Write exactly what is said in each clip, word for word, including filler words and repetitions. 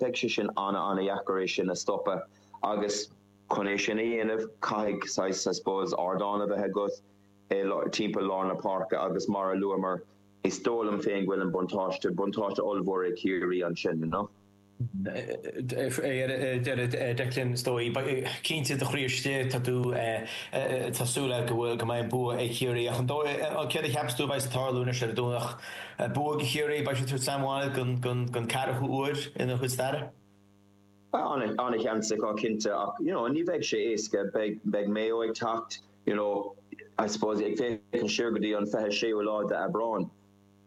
Beidh sé sin an-an-dheacair é sin a stopadh agus chun é sin a dhéanamh caithfidh saghas I suppose ardán a bheith agat timpeall lár na páirce agus mar a luamar is dóigh liom féin go bhfuil an buntáiste buntáiste ollmhór ag Ciarraí ansin you know. Declan is dóigh cinnte do chroí istigh tá tú tá súil go bhfuil go mbeidh an bua ag Ciarraí ach an dóigh céard a cheapas tú a bheidh ag tarlú anois ar an Domhnach bua ag Ciarraí beidh siad Sam gon gon gon ceathrú huair ina chuid staire? An-sheans acu cinnte ach you know, ní bheidh sé éasca beidh beidh Mayo ag teacht you know, I suppose ag féachaint siar go dtí an fiche séú lá d'Aibreán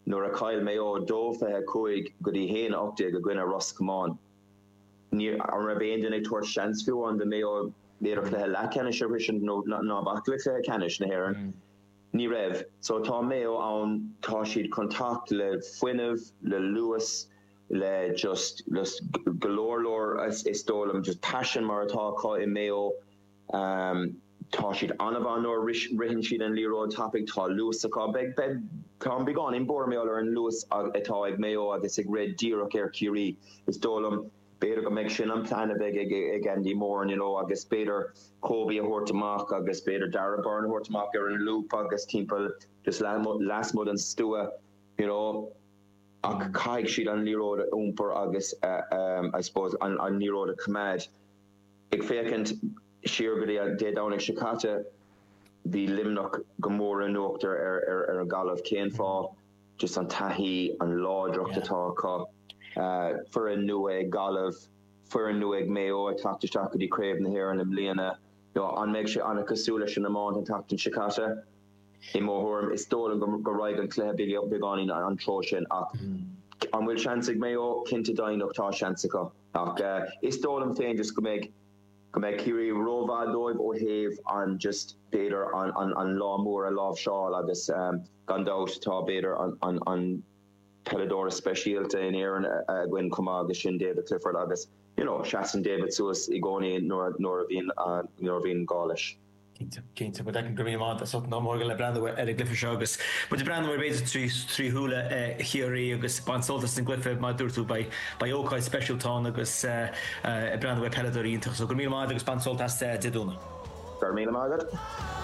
nuair a chaill Mayo dó fiche cúig go dtí haon ocht déag i gcoinne Ros Comáin. Ní an raibh aon duine ag tabhairt seans fiú an do Mayo b'fhéidir cluiche leathcheannais a shroichint nó ná bac le cluiche ceannais na hÉireann. Ní raibh, so tá Mayo ann tá siad chun teacht le fuinneamh le luas le just just go leor leor is is dóigh liom just passion mar atá acu i Mayo. Um, tá siad an-mhaith nuair ritheann siad an liathróid tapaidh tá luas acu beidh beidh tá an beagáinín buartha ar an luas atá ag Mayo agus ag rith díreach ar Ciarraí is dóigh liom b'fhéidir go mbeidh sin an plan a bheidh ag ag Andy Moore you know, agus b'fhéidir Kobe a thabhairt amach agus b'fhéidir Darragh Beirne a thabhairt amach ar an loop agus timpeall just lasmuigh den stua you know, ach caithfidh siad an liathróid a iompar agus uh, um, I suppose an, an liathróid a choimeád. Ag féachaint siar go dtí Dé Domhnaigh seo caite bhí Luimneach go mór in uachtar ar ar ar an Gaillimh cén fáth just an taithí an láidreacht atá acu uh, foireann nua ag Gaillimh foireann nua ag Mayo ag teacht isteach go dtí Craobh na hÉireann i mbliana you know, an mbeidh sé an-chosúil leis an iomáint an tseachtain seo caite i mo thuairim is dóigh liom go go raibh an cluiche beagáinín an treo sin ach an bhfuil seans ag Mayo cinnte deimhneach tá seans acu ach uh, is dóigh liom féin just go mbeidh go mbeidh Ciarraí rómhaith dóibh ó thaobh an just b'fhéidir an, an, an lá mór a láimhseáil agus um, gan dabht tá b'fhéidir an, an, an peileadóir speisialta in Éirinn againn chomh maith agus sin David Clifford agus you know, seasann David suas i gcónaí nuair nuair a bhíonn uh, nuair a bhíonn gá leis. Cinnte go go mí ná mór le breathnú ar an gcluiche seo agus Mu breathnú ar b'fhéidir trí trí shúile Chiarraí agus bain sult as an gcluiche mar dúirt tú beidh ócáid speisialta ann agus breathnú ar peileadóirí iontach so go míle maith agus bain sult as Dé Domhnaigh. Gur míle maith agat?